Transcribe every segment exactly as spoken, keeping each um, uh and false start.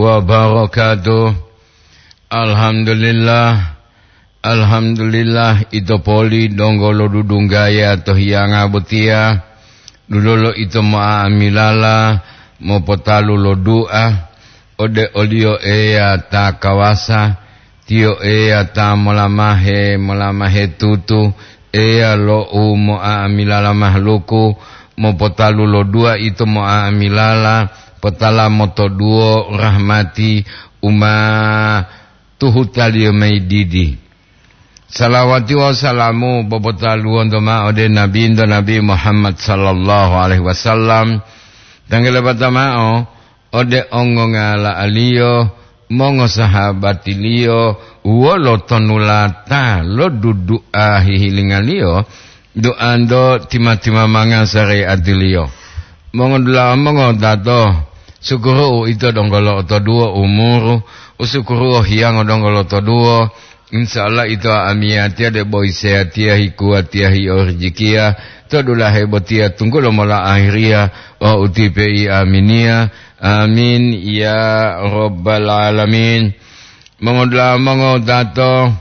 wabarakatuh. Alhamdulillah, alhamdulillah, ito poli donggo lodudunggaya to hiyanga botiya, dulolo ito mo'amilala mopotalu lo du'a ode oliyo Eya ta kawasa, Tiyo Eya ta molamahe, molamahe tutu, Eya lo u mo'amilala mahaluku, mopotalu lo du'a ito mo'amilala, potala motoduwo rahmati u ma tuhutaliyo mayi didi. Salawati wawu salamu popotaluwonto ma'o ode Nabinto Nabi Muhammad sallallahu alaihi wasallam, tanggalabata ma'o ode ongongala'aliyo, mongosahabatiliyo, wolo tonulata lo dudu'a hihilingaliyo, du'anto tima-timamanga sare'atiliyo. Mongodula'a mongotato, sukuru'u ito donggo lo'otoduwo umuru, usukuru'u hiyango donggo lo'otoduwo, insya Allah ito amiyatiya debo iseyatiya hikuwatiya hiyo rijikiya, to dulahe botiya tunggulo mola ahiriya, wawu utipe'i aminiya. Amin, ya Rabbal Alamin. Mongodula'a mongotato,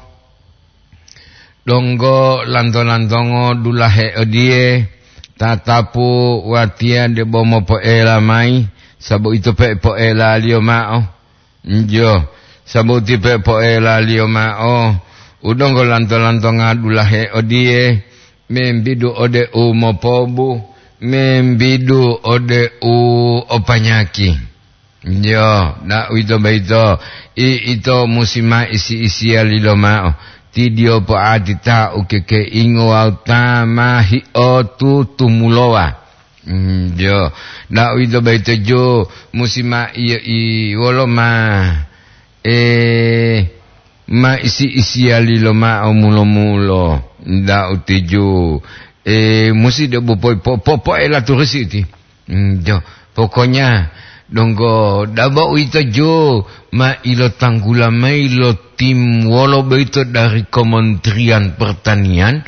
donggo lanto-lantongo dulahe odiye, tatapu watiya debo mopo'ela mayi, sabu ito pe po'elaliyo ma'o. Njo, sabu ti pe po'elaliyo ma'o, u donggo lanto-lantonga dulahe odiye, membidu ode u mopobu, membidu ode u o panyaki. Njo, na uwito boyito, i-, ito musi ma isi-isiyali lomao, ti diyo po'ati ta ukekeingo wawu ta ma hiotutumulowa. Mm, jo. Da'u yito boyito jo musi ma iyo i wolo ma, eh, ma isi-isiyali lomao mulo-mulo. Da'u tiju, eh, musi de'u po-, po-, po-, poela turusi ti. Mm, jo. Pokoknya donggo dabo uwito jo ma ilotanggula mayi lo tim wolo boyito dari Kementerian Pertanian,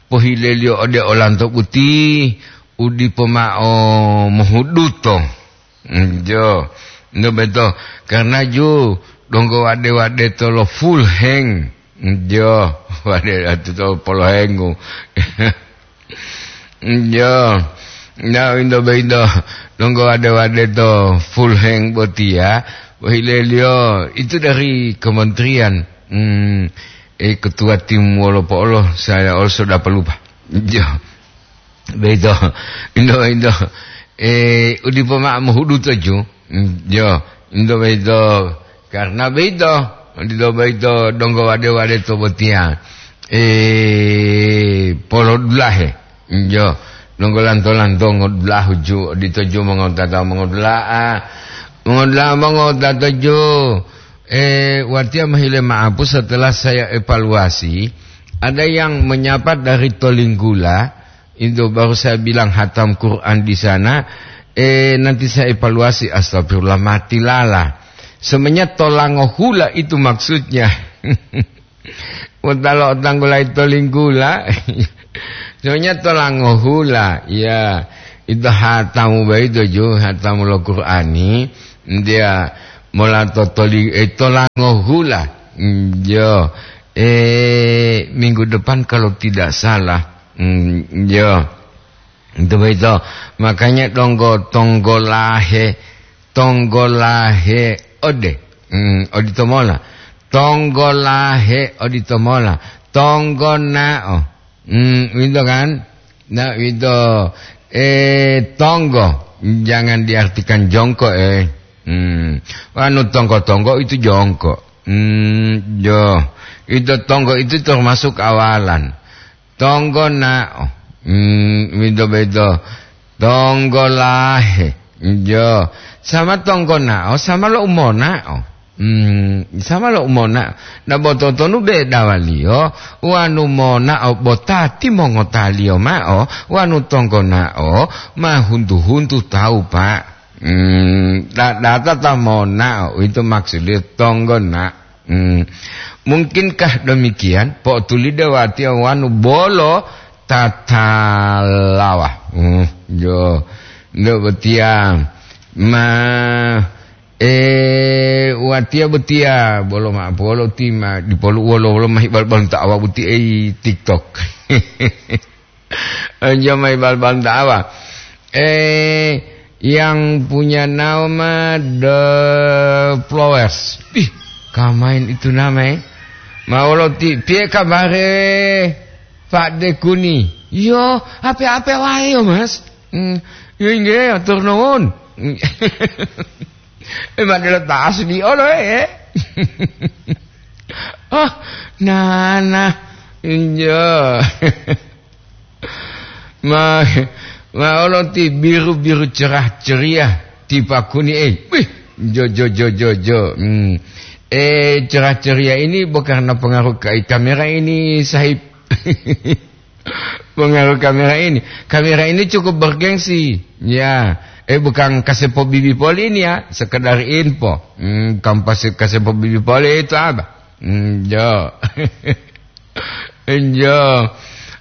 pohileliyo ode olanto boti u dipo mao mohuduto. Njo, nto beto, karena ju donggo wade-wade to lo full hang. Njo, wade atu to polohengu. Njo, na into bento donggo wade-wade to full hang botiya, pohileliyo itu dari kementerian, hmm, eh, ketua tim wolo po'olo, saya also dapat lupa. Njo. Beito, into, into, eh, udipo ma'o mohudu toju. Mm, jo, into beito, karena beito, odito beito donggo wade-wade to botiya, eh, polodulahe. Mm, jo, donggo lanto-lanto ngodulahu ju, odito ju mongotata mongodula'a, mongodula'a mongotata ju, eh, watiya mohile ma'apu setelah saya evaluasi, ada yang menyapa dari Tolinggula, itu baru saya bilang hatam Quran di sana, eh, nanti saya evaluasi, astagfirullah, mati lala. Sebenarnya tolango hula itu maksudnya. Wetalo tanggulai tolinggula. Sebenarnya tolango hula, ya. Itu hatamu bayi tuju, hatamu lo Qurani. Dia mola totoli, eh, tolango hula. Yo, eh, minggu depan kalau tidak salah. Hmm, iya. Itu begitu. Makanya donggo, tonggolahe, tonggolahe ode. Hmm, odito mola. Tonggolahe odito mola. Tonggonao. Hmm, itu kan? Nah, itu, eh, tonggo. Jangan diartikan jongko, eh. Hmm. Anu tonggo-tonggo itu jongko. Hmm, yo. Itu tonggo itu termasuk awalan. Tonggonao. Hmm, beda-beda. Tonggolahe. Yo. Sama tonggonao, sama lo umonao. Hmm, sama lo umonao. Na bototonu bedawaliyo, wanu monao botati mongotaliyo mao, wanu tonggonao ma huntu-huntu tawu, Pak. Hmm, da-, data ta monao, itu maksudnya tonggona. Hmm. Mungkinkah demikian? Po'otuli dewatiya wanu bolo tatalawa. Hmm, jo. Ndak botiya. Ma, Eh, watiya botiya, bolo ma'o polo ti ma dipolu wolo-wolo mahi bal-, balunta awa boti ei TikTok. Enjo mahi bal-, balunta awa. Eh, yang punya nama The Flowers. Ih, kamain itu nama, eh? Ma'o wolo ti, piye kabare, Pak Dekuni? Yo, ape-ape wae yo, Mas. Hmm, yo inggih, atur nuwun. Eh, ma delo ta asli olo, eh. Oh, nana. Injo. Ma, ma olo ti biru-biru cerah ceria ti Pak Kuni, eh. Wih, jo, jo, jo, jo, jo. Hmm. Eh, cerah ceria ini bukan karena pengaruh ka-, kamera ini, Sahib. Pengaruh kamera ini. Kamera ini cukup bergengsi. Ya, eh, bukan kasepo bibi poli ini ya, sekedar info. Hmm, bukan pas kasepo bibi poli itu apa? Hmm, jo. Jo.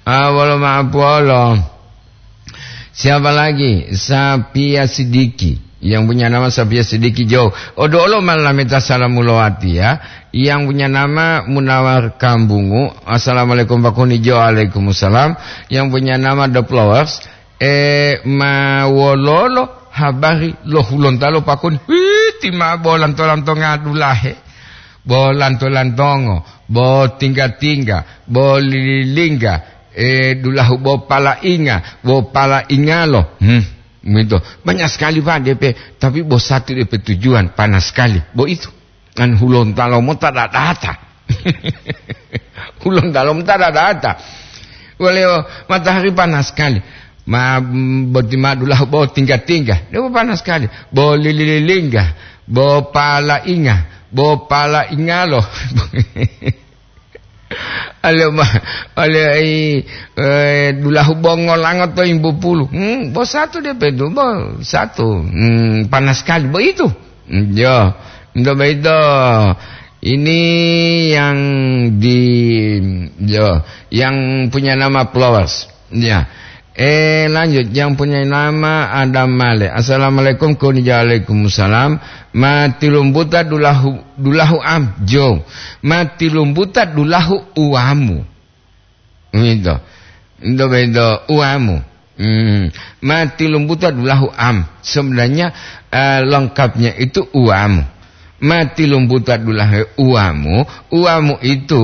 Ah, wolo ma'o polo. Siapa lagi? Sapia Sidiki. Yang punya nama Sapia Sidiki, jo. Odo olo malameta salamu lowati ya. Yang punya nama Munawar Kambungu. Assalamualaikum Pak Kuni, jo. Waalaikumsalam. Yang punya nama The Flowers. Eh, ma wololo habari lo Hulontalo Pak Kuni? Wih, ti ma bo lanto-lantonga dulahe. Bo lanto-lantongo, bo tingga-tingga, bo lililingga, eh, dulahu bo palainga, bo palaingalo. Hmm, begitu. Banyak sekali, Pak, D P, tapi bo satu D P tujuan, panas sekali. Bo itu. Kan Hulontalo mota dadata. Hulontalo mota dadata. Wale matahari panas sekali. Ma, mm, boti ma dulahu bo tingga-tingga. Dia bo panas sekali. Bo lililingga, bo palainga, bo palaingalo. Ale ma, ale ai, eh, dulahu bo ngolango to imbu pulu. Hmm, bo satu dia pe itu, bo satu. Hmm, panas sekali. Bo itu. Hmm, yo. Untuk begitu, ini yang di, yo, yang punya nama Flowers. Ya. Eh, lanjut, yang punya nama Adam Male. Assalamualaikum, kuni waalaikumsalam. Ma tilumbuta dulahu, dulahu am, jo. Ma tilumbuta dulahu uwamu. Gitu. Itu begitu, uwamu. Hmm. Ma tilumbuta dulahu am. Sebenarnya, eh, lengkapnya itu uwamu. Ma tilumbuta dulahu uwamu, uwamu itu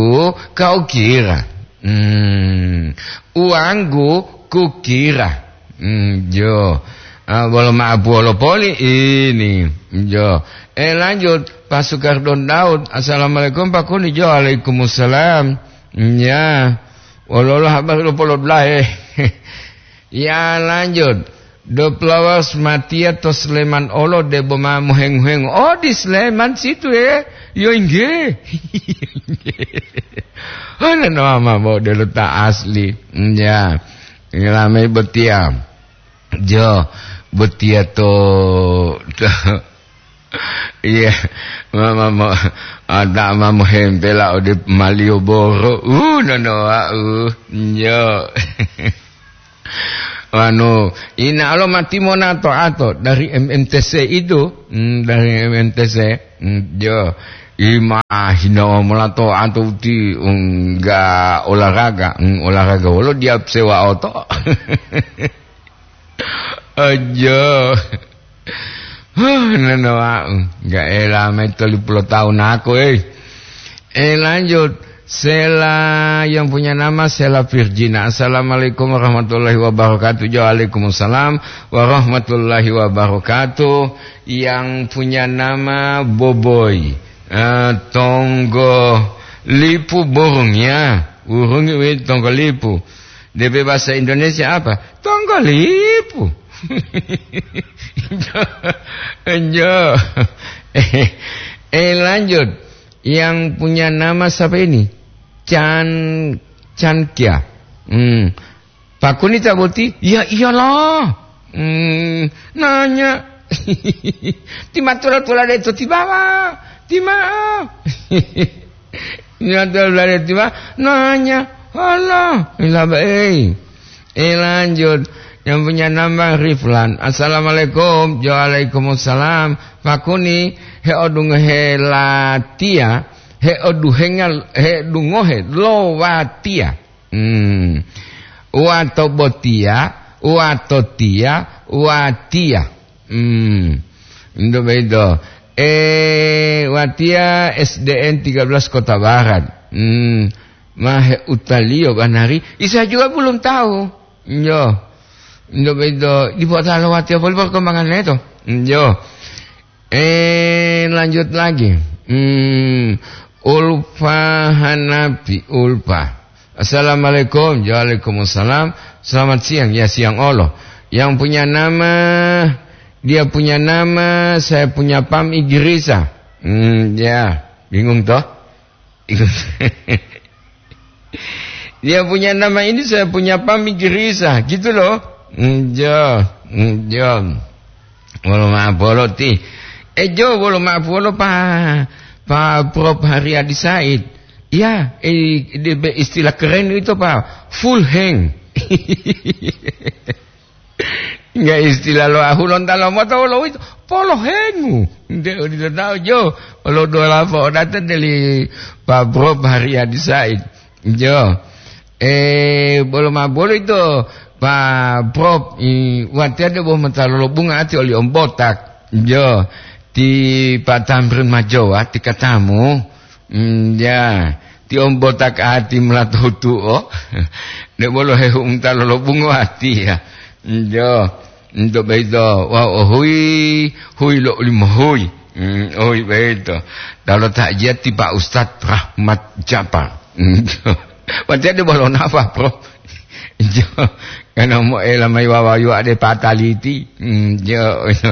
kau kira. Hmm. Uwanggu kukira. Hmm, jo. Ah, bolo ma'o polo poli ini. Jo. Eh, lanjut. Pak Sukardon Daud. Assalamualaikum, Pak Kuni. Jo, waalaikumsalam. Ya. Wolo-wolo habari lo polo dulahe. Ya, lanjut. The Flowers matiya to Sleman olo debo ma mohengu-hengu. Oh, di Sleman situ, ya. Yo, inggih. Hana no ama bo delo ta asli. Ya. Ramai botiya. Jo, botiya to, to. Iya, mama mo, ada mama hempela ode Malioboro. Uh, nono wau. Yo. Anu, ina alo mati mona to ato dari M M T C itu. Hmm, dari M M T C. Hmm, yo. Ima hina mola to ato uti, enggak olahraga. Hmm, olahraga wolo dia sewa oto. Ojo. Huh, nana wau. Enggak ela mai tolipuluh tahun aku, eh. Eh, lanjut. Sela yang punya nama Sela Virgina. Assalamualaikum warahmatullahi wabarakatuh. Waalaikumsalam warahmatullahi wabarakatuh. Yang punya nama Boboy. Eh, Tonggo Lipu burung ya. Burung itu Tonggo Lipu. D P bahasa Indonesia apa? Tonggolipu. Enjo. Eh, eh, lanjut. Yang punya nama siapa ini? Chan, Chan Kia. Hmm. Pak Kuni ta boti? Ya iyalah. Hmm, nanya. Ti ma tula-tula de to ti baba. Ti ma. Ina to lare tiba nanya, "Alah, ila bae." Eh, lanjut. Yang punya nama Riflan. Assalamualaikum. Waalaikumsalam. Pakuni, heodungohe latiya, heoduhenga, heodungohe lo watiya. Hmm. Wato botiya, wato tiya, watiya. Hmm. Ndo bedo. Eh, watiya S D N tiga belas Kota Barat. Hmm. Mahe utaliyo banari, isa juga belum tahu. Yo. Ndo bedo, di kota lo watiya poli perkembangan itu. Yo. Eh, lanjut lagi. Hmm, Ulfa Hanafi, Ulfa. Assalamualaikum. Waalaikumsalam. Selamat siang. Ya, siang olo. Yang punya nama, dia punya nama, saya punya pam Igrisa. Hmm, ya, bingung toh? Dia punya nama ini, saya punya pam Igrisa, gitu loh. Njo, njo. Wolo ma'o bolo ti. Eh, jo, wolo ma'o bolo pa, pa Prof Haryadi Said. Ya, eh, de-, be-, istilah keren itu, Pak. Full hang. Enggak, istilah lo ahu lonta lo moto lo itu. Polohengu. Nde odito tahu, jo. Lo dola po data dari Pak Prof Haryadi Said. Jo. Eh, bolo ma bolo itu, Pak Prof, i, watiade bo mata lolo bunga ati oli om botak. Jo. Ti Pak Tamrin Majowa, ti katamu. Hmm, ya. Ti om botak ati melato tuo. Nde bolo hehu mata lolo bunga ati ya. Jo. Nto boyito, wau o huyi, huyi lo ulimohuyi. Hmm, o huyi boyito. Dalo ta'jiyati Pak Ustadz Rahmat Japar. Hmm, watiya de bolo nafa, Prof. Jo, karena mo ela mai wawayu ade pataliti. Hmm, jo, jo.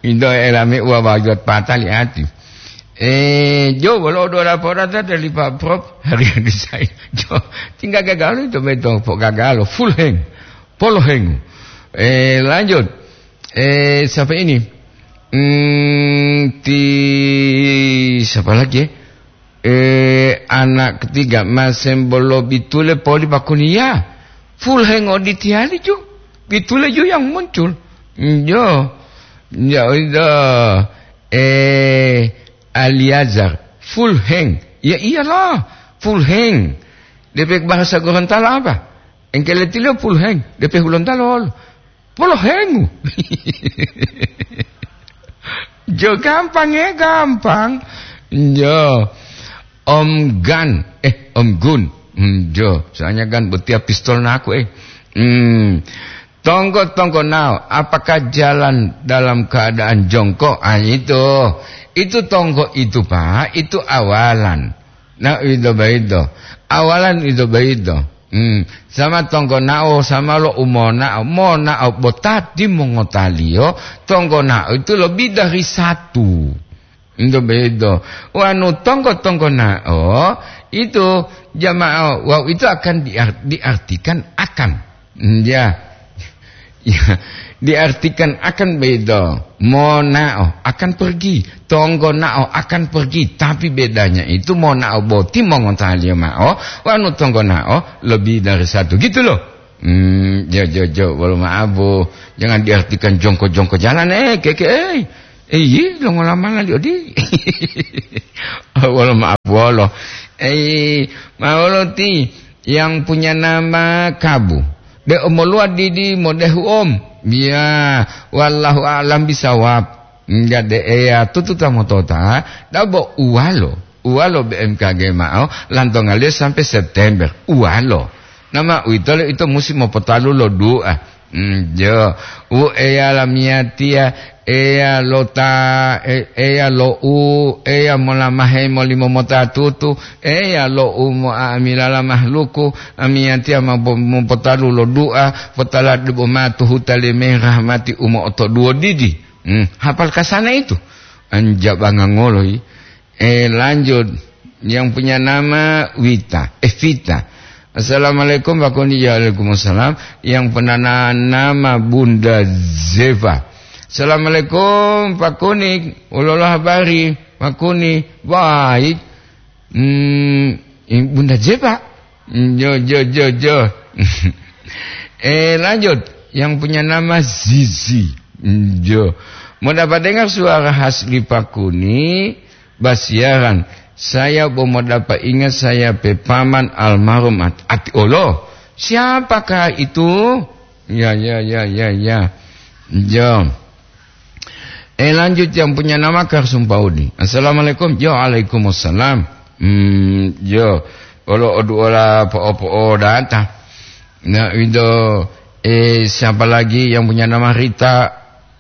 Into ela mai wawayu patali ati. Eh, jo, bolo do laporan dari Pak Prof Haryadi Said. Jo, tinggal gagal itu betul, Pak, gagal. Full hang. Polohengu. Eh, lanjut. Eh, siapa ini? Hmm, ti, siapa lagi, ya? Eh, anak ketiga, masembolo bitule poli pakuniya. Full hang oditiyali ju. Bitule ju yang muncul. Hmm, jo. Ya, udah. Eh, Aliazar. Full hang. Ya iyalah. Full hang. Depe bahasa Gorontalo apa? Engkeletiliyo full hang. Depe Hulontalo. Polohengu. Jo, gampang ya, gampang. Jo. Om Gan, eh, Om Gun. Hmm, jo, soalnya Gan botiya pistol naku, eh. Hmm. Tonggo-tonggo nao, apakah jalan dalam keadaan jongkok? Ah, itu. Itu tonggo itu, Pak, itu awalan. Nah, itu begitu. Awalan itu begitu. Hmm, sama tonggonao, sama lo umonao. Monao botati mongotaliyo, tonggonao itu lebih dari satu. Itu begitu. Wanu tonggo-tonggonao, itu jamaah, wau itu akan diar-, diartikan akan. Hmm, ya. Ya, diartikan akan beda. Monao akan pergi, tonggonao akan pergi, tapi bedanya itu monao boti mongotaliyo mao, wanu tonggonao lebih dari satu, gitu loh. Hmm, jo, jo, jo, bolo ma'o, Bu. Jangan diartikan jongko-jongko jalan, eh, keke, eh. Eh, iya, lo ngolamala li odi. Bolo ma'o, bolo. Eh, ma'o lo ti yang punya nama Kabu. De omoluwa didi modehu om. Ya, wallahu a'lam bisawab. Enggak de eya tututa motota, dabo uwalo. Uwalo B M K G ma'o, lantongaliyo sampai September. Uwalo. Nama uwitolo ito musi mopotalu lo du'a. Mm, jo. U eya lamiyatiya, eya lo ta, e-, eya lo u, eya molamahe molimomota tutu, eya lo u mo'amilala mahluku, amiyatiya ma bo-, mopotalu lo du'a, potala debo ma tuhuta limeng rahmati u mo'otoduwo didi. Hmm, hafal kasana itu. Anjabanga ngolo yi. Eh, lanjut. Yang punya nama Wita. Eh, Vita. Assalamualaikum, Pak Koni. Waalaikumsalam. Yang punya na-, nama Bunda Zeva. Assalamualaikum, Pak Koni. Ulolo habari, Pak Koni. Baik. Hmm, Bunda Zeva. Jo, jo, jo, jo. Eh, lanjut. Yang punya nama Zizi. Njo. Mau dapat dengar suara khas Lipakuni, basiaran. Saya bo mau dapat ingat saya pepaman almarhum At-, Ati Olo. Siapakah itu? Ya, ya, ya, ya, ya. Jo. Eh, lanjut yang punya nama Karsum Paudi. Assalamualaikum. Jo, alaikumussalam. Hmm, jo. Olo odu ola po-, po-, data. Nah, itu, eh, siapa lagi yang punya nama Rita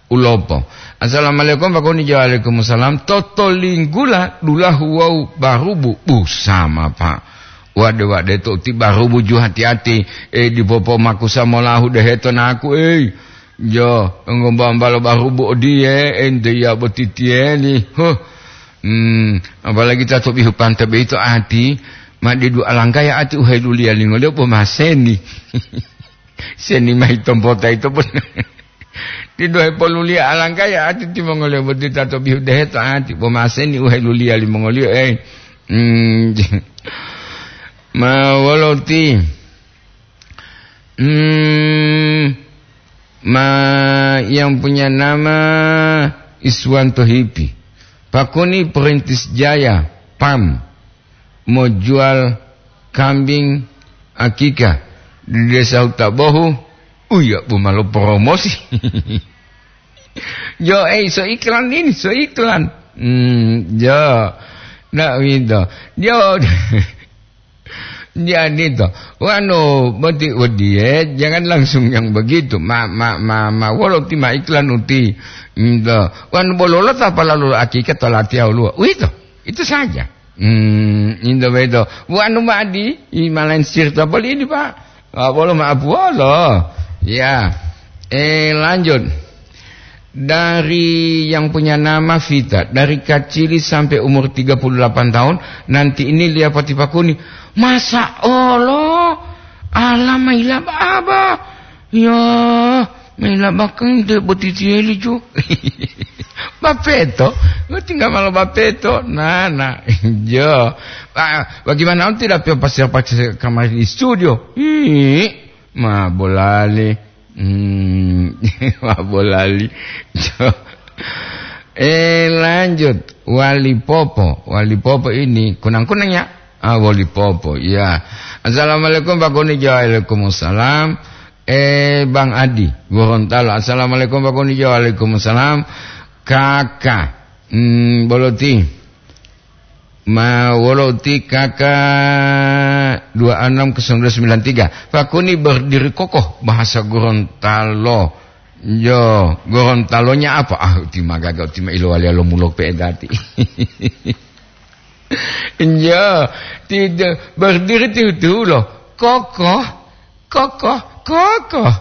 Ulopo? Assalamualaikum, Pak Koni. Waalaikumsalam. Toto linggula dulahu wau barubu. Bu, sama, Pak. Wade-wade to ti barubu ju hati-hati. Eh, dipopo makusa molahu deheto naku, eh. Jo, ngombambalo barubu odiye, ente ya botitieli. Huh. Hmm, apalagi ta to bihu pante beito ati, ma didu alangkaya ati uheluliya lingoliyo bo maseni. Seni mayi tompota ito pun. Didu hepoluliya alangkaya ati timongoliyo boti ta to bihu deheto ati, bo maseni uheluliya limongoliyo, eh. Hmm, ma wolo ti? Hmm, ma yang punya nama Iswanto Hipi. Pakuni Perintis Jaya, pam, mau jual kambing akika di Desa Hutabohu. Uya, bu malo promosi. Jo, eh, so iklan ini, so iklan. Hmm, jo. Ndak winto. Jo. Jadi to, wanu boti wodiye, jangan langsung yang begitu. Ma, ma, ma, ma, wolo ti ma iklan uti. Nto. Wanu bololo ta palalu akika to latiya oluwa. Uwito, itu saja. Hmm, into beto. Wanu madi, i malain sirta boli ini, Pak. Ah, bolo ma apuolo. Ya. Eh, lanjut. Dari yang punya nama Vita, dari kacili sampai umur tiga puluh delapan tahun, nanti ini lia pati pakuni. Masa olo? Ala maila baba. Ya, maila bakang de botitieli ju. Bapeto, tinggal malu bapeto. Nah, nah, jo. Ah, bagaimana on tidak pio pasir-pasir kamar di studio? Ih, ma bolali. Hmm, wah, bolali. Eh, lanjut. Wali Popo. Wali Popo ini kunang-kunang ya? Ah, Wali Popo, ya. Assalamualaikum, Pak Kuni. Waalaikumsalam. Eh, Bang Adi, Gorontalo. Assalamualaikum, Pak Kuni. Waalaikumsalam. Kakak. Hmm, boloti. Ma wolo ti K K dua enam kosong dua sembilan tiga. Pakuni berdiri kokoh, bahasa Gorontalo. Jo, Gorontalonya apa? Ah, ti magaga, ti ma ilowaliya lo mulok pe'edati. Jo, tidak berdiri tiu-tiu lo. Kokoh, kokoh, kokoh.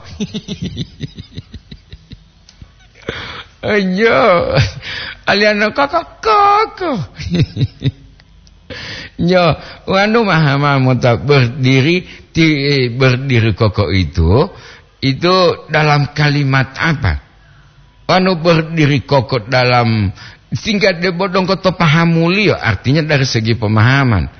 Ayo, aliano koko, koko. Yo, wanu maha-maha mota berdiri, ti-, berdiri koko itu, itu dalam kalimat apa? Wanu berdiri koko dalam, singkat debo dongko to pahamuliyo, artinya dari segi pemahaman.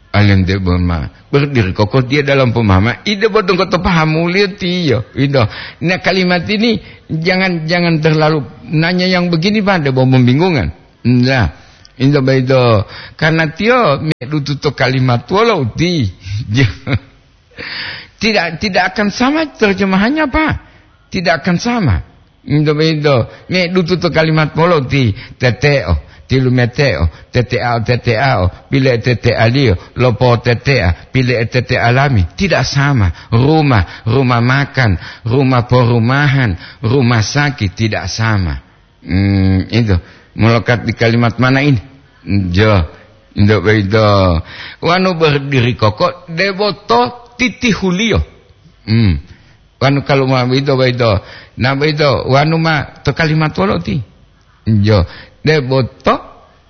Alem debo ma, berdiri kokoh dia dalam pemahaman. Ide bo dongko to pahamuliyo tiyo. Itu. Nah, kalimat ini jangan, jangan terlalu nanya yang begini, Pak, debo membingungkan. Nah, itu begitu. Karena tiyo medutu to kalimat wolo uti. Tidak, tidak akan sama terjemahannya, Pak. Tidak akan sama. Into-into, medutu to kalimat polo ti tete'o, tilumete'o, tete'ao, tete'ao, pile'e tete'aliyo, lopo tete'a, pile'e tete'a lami, tidak sama. Rumah, rumah makan, rumah perumahan, rumah sakit, tidak sama. Hmm, itu, melekat di kalimat mana ini? Jo, into-into. Wanu berdiri kokoh, debo to titihuliyo. Hmm. Wanu kalu ma boyito, boyito. Na boyito, wanu ma to kalimat wolo ti? Jo, debo to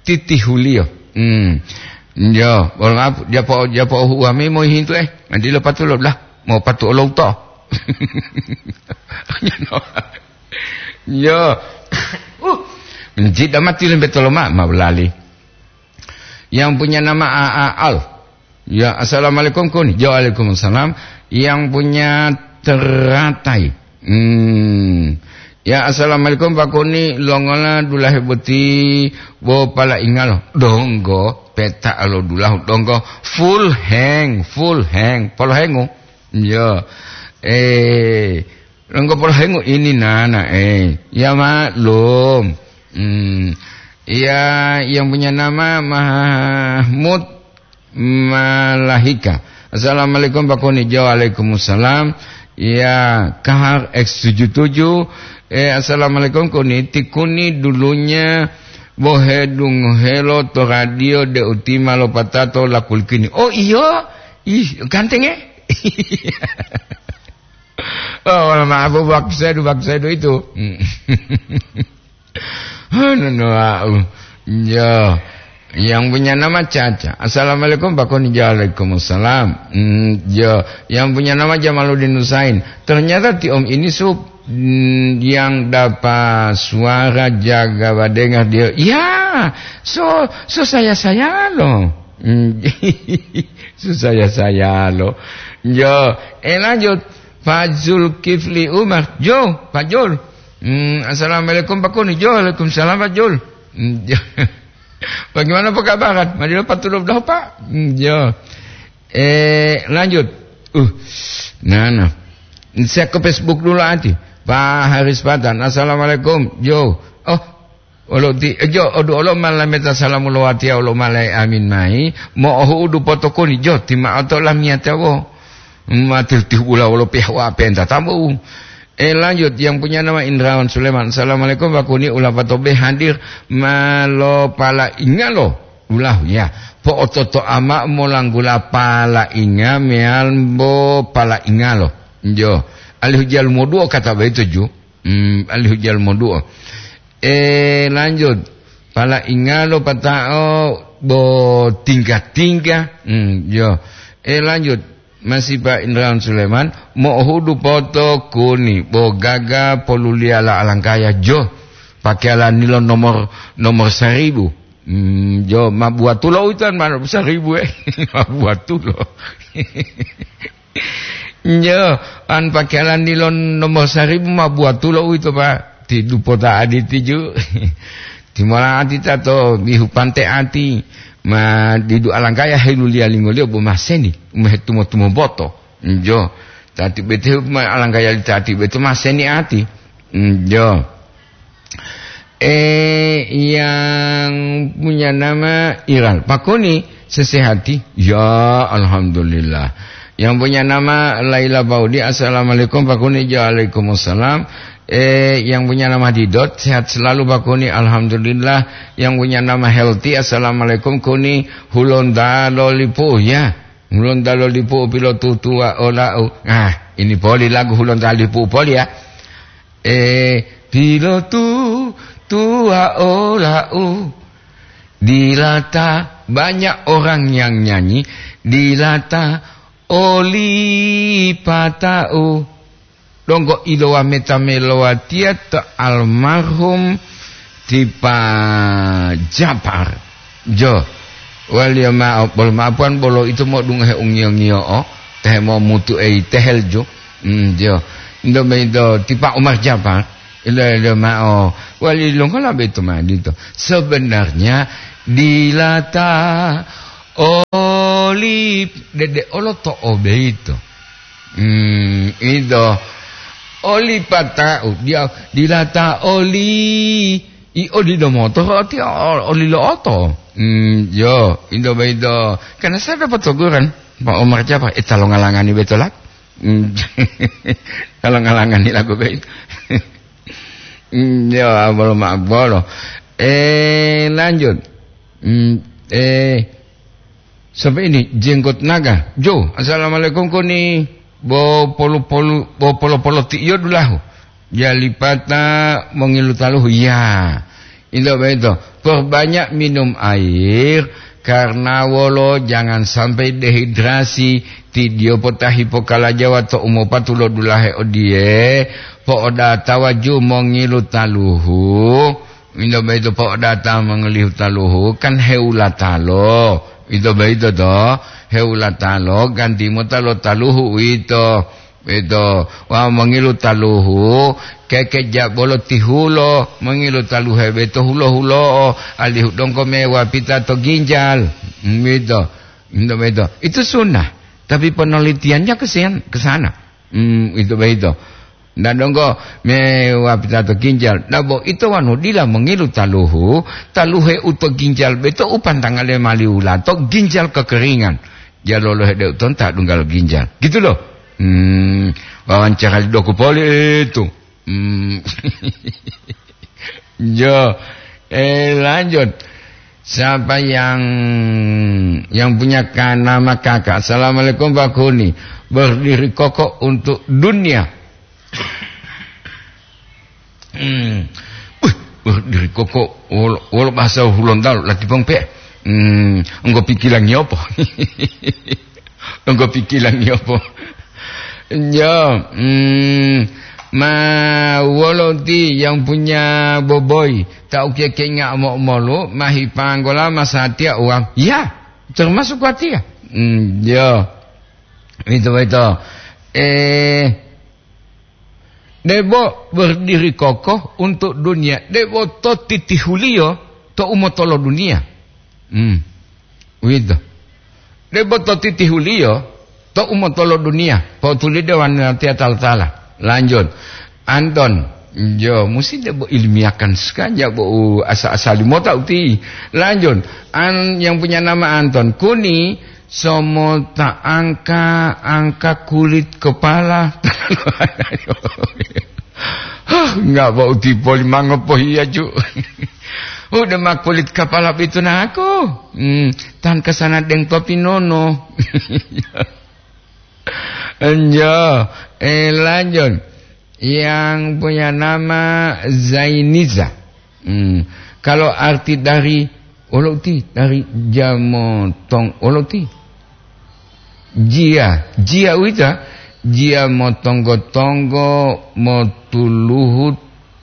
titihuliyo. Hmm. Jo, mohon maaf, japo, japo uwa me mohintu, eh. Nanti lo patulo lah, mau patu olou to. Jo. Uh, menjida mati lembe toloma, ma belali. Yang punya nama A A Al. Ya, assalamualaikum, Kun. Ya, waalaikumsalam. Yang punya teratai. Hmm. Ya, assalamualaikum Pak Kuni, longola dulahe boti bo palaingalo? Donggo, peta lo dulahu donggo, full hang, full hang, polohengu. Yo. Eh, donggo polohengu ini nana, eh. Ya maklum. Hmm. Ya, yang punya nama Mahmud Malahika. Assalamualaikum Pak Kuni. Jo, waalaikumsalam. Ya, Kahar X tujuh tujuh. Eh, assalamualaikum Kuni. Ti Kuni dulunya bohe dungohelo to radio de utima lo patato lakulikini. Oh iyo. Ih, ganteng eh. Oh, maaf, waktu saya, waktu saya itu. Hmm. Anu, no, au. Ya. Yang punya nama Caca. Assalamualaikum Pak Koni. Waalaikumsalam. Hmm, ya. Yang punya nama Jamaluddin Husain. Ternyata Ti Om ini sup hmm, yang dapat suara jaga badengar dia. Ya, so so saya saya loh. Hmm, so saya saya loh. Ya, eh lanjut. Fazul Kifli Umar. Jo, Fajul. Hmm, assalamualaikum Pak Kuni. Jo, waalaikumsalam Fajul. Hmm, jo. Bagaimana pekabaran? Madilo patulop dah Pak. Hmm, jo. Eh, lanjut. Uh, nah, nah. Saya ke Facebook dulu ati. Pak Haris Patan. Assalamualaikum. Jo. Oh, olo ti, eh, jo, odu olo malameta salamu lo watiya olo malai amin mai. Mo ohu udu potokoni. Jo, tima oto lamiyata wo. Matil tih ula wolo pihak wa penta tamu. Eh, lanjut, yang punya nama Indrawan Sulaiman. Assalamualaikum, Pak Kuni, ula patobe hadir malo pala ingalo. Ulahu, ya. Po ototo ama molanggula pala inga meal bo pala ingalo. Jo. Alihu jalu moduo kata begitu, ju. Hmm, alihu jalu moduo. Eh, lanjut. Pala ingalo patao bo tingga-tingga. Hmm, jo. Eh, lanjut. Masipa Indrawan Suleman, mo'ohudu poto kuni, bo gaga poluliyala alangkaya jo, pakeyala nilo nomor, nomor saribu. Hmm, jo, mabuatulo utan mano saribu, eh. Mabuatulo. Jo, an pakeyala nilo nomor saribu mabuatulo uito, Pak. Ti dupota aditi ju. Timola ati tato bihu pante ati. Ma didu alangkaya heluliya lingoliyo bo maseni, umehe tumo-tumo boto. Njo. Tati bete ma alangkaya li tati bete maseni ati. Njo. Eh, yang punya nama Iral. Pakuni sesehati? Ya, alhamdulillah. Yang punya nama Laila Baudi, assalamualaikum. Pakuni, waalaikumsalam. Eh, yang punya nama Didot, sehat selalu, Pak Kuni. Alhamdulillah. Yang punya nama Healthy, assalamualaikum, Kuni. Hulonda lolipu, ya. Hulonda lolipu, pilotutua olau. Ah, ini poli lagu Hulonda lipu poli, ya. Eh, pilotutua olau. Dilata banyak orang yang nyanyi. Dilata oli patau. Donggo ilowa meta melowatiya to almarhum ti Pa Japar. Jo, waliyo ma'o, bolo ma'apuwan bolo ito mo'odungohe ungiyo-ngiyo'o, tehe momutu eyi tehel jo. Hmm, jo. Ndo me ito ti Pa Umar Japar, ilo-ilo ma'o, wali longola beto ma dito. Sebenarnya dilata oli dede olo to obeito. Hmm, ito. Oli pata'u, dia dilata oli, i oli do motor, ati o-, oli lo oto. Hmm, yo, ito beito. Karena saya dapat teguran, Pak Umar Japar, eh, talo ngalangani beto lak. Hmm, talo ngalangani lagu beito. Hmm, yo, abolo ma abolo. Eh, lanjut. Hmm, eh, Sampai ini, Jenggot Naga. Jo, assalamualaikum Koni. Bo polu-polu, bo polo-polo ti iyo dulahu. Jalipata mongilu taluhu. Ya. Ito beto. Perbanyak minum air, karena wolo jangan sampai dehidrasi. Ti dio potahi pokalajawa to umopatu lo dulahe odie, po'odata waju mongilu taluhu. Ito boyito po'odata mongolihu taluhu, kan heulatalo. Ito boyito to, heulatalo, ganti mota lo taluhu uwito. Ito, wa mongilu taluhu, kekeja bolo tihulo, mongilu taluhe beto hulo-hulo'o, alihu donggo me wapita to ginjal. Hmm, ito. Ito beto. Itu sunnah. Tapi penelitiannya ke sen-, ke sana. Hmm, ito beto. Nda donggo me wapita to ginjal. Nda bo ito wanu dila mongilu taluhu, taluhe uto ginjal beto upantangale maliwulato ginjal kekeringan. Jalolo hede utonta dunggal ginjal. Gitu loh. Hmm, wawancara li doku poli itu. Hmm. Jo, eh, lanjut. Siapa yang, yang punya ka-, nama kakak? Assalamualaikum, Pak Kuni. Berdiri kokoh untuk dunia. Hmm. Wih, berdiri kokoh. Wolo, wolo bahasa Hulontalo, lati pong pe. Hmm, engko pikilangi apa? Engko pikilangi apa? Ya, hmm, ma wolo ti yang punya boboi, ta ukiye kenga mo-, molu, ma hipanggola masatiya uang. Ya, termasuk watiya. Hmm, ya. Itu, itu. Eh, debo berdiri kokoh untuk dunia, debo to titihuliyo to umotolo dunia. Hmm. Uwito. Debo to titihuliyo to umotolo dunia, potulide wanatiya tala-tala. Lanjut. Anton, jo, musi debo ilmiahkan sekali, bo u asa-asali mota uti. Lanjut. An, yang punya nama Anton, Kuni, somota angka, angka kulit kepala. Hah, nggak bau tipoli mangopohiya, Ju. Udah mah kulit kepala itu naku. Hmm, tan kesana deng topi nono. Enjo, eh, lanjut. Yang punya nama Zainiza. Hmm. Kalau arti dari oloti, dari jamotong oloti. Jia, jia uwita, jia motonggo-tonggo, motuluhu,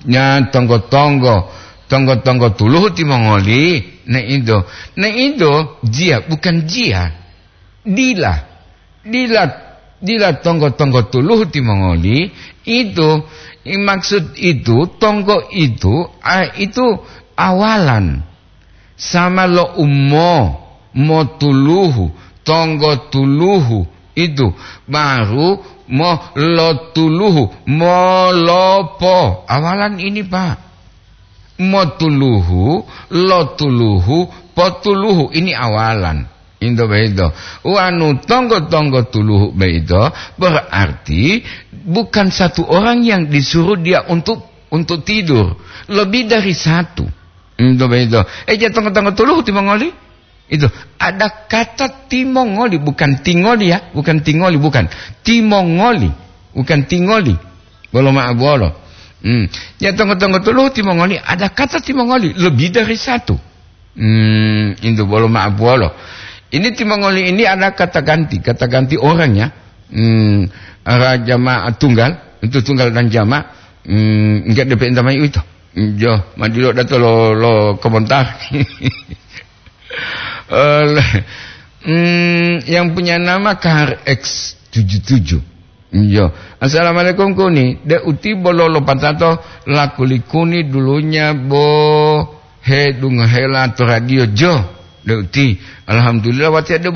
nya tonggo-tonggo, tonggo-tonggo tuluhu timongoli, ne ido. Ne ido, jia, bukan jia. Dila, dila, dila tonggo-tonggo tuluhu timongoli, itu, i maksud itu, tonggo itu, a, itu awalan. Sama lo umo, mo tuluhu, tonggo tuluhu, itu, baru mo lo tuluhu, mo lopo. Awalan ini, Pak. Motuluhu, lotuluhu, potuluhu. Ini awalan. Into beito. Wanu tonggo-tonggo tuluhu beito berarti bukan satu orang yang disuruh dia untuk, untuk tidur. Lebih dari satu. Into beito. Eh, ja tonggo-tonggo tuluhu timongoli? Itu, ada kata timongoli, bukan tingoli ya, bukan tingoli, bukan. Timongoli, bukan tingoli. Bolo ma'abuwolo. Hmm. Ya tonggo-tonggo tuluhu timongoli, ada kata timongoli, lebih dari satu. Hmm, itu bolo ma'abuwolo. Ini timongoli ini ada kata ganti, kata ganti orang ya. Hmm, ara jamaah tunggal, itu tunggal dan jamaah. Hmm, enggak depe entah mai itu. Jo, madilo dato lo, lo komentar. Eh, hmm, yang punya nama K R X tujuh tujuh. Iya. Assalamualaikum Kuni. Dek uti bolo lopatato lakulikuni dulunya bo he dungohela to radio jo. Dek uti. Alhamdulillah wati ada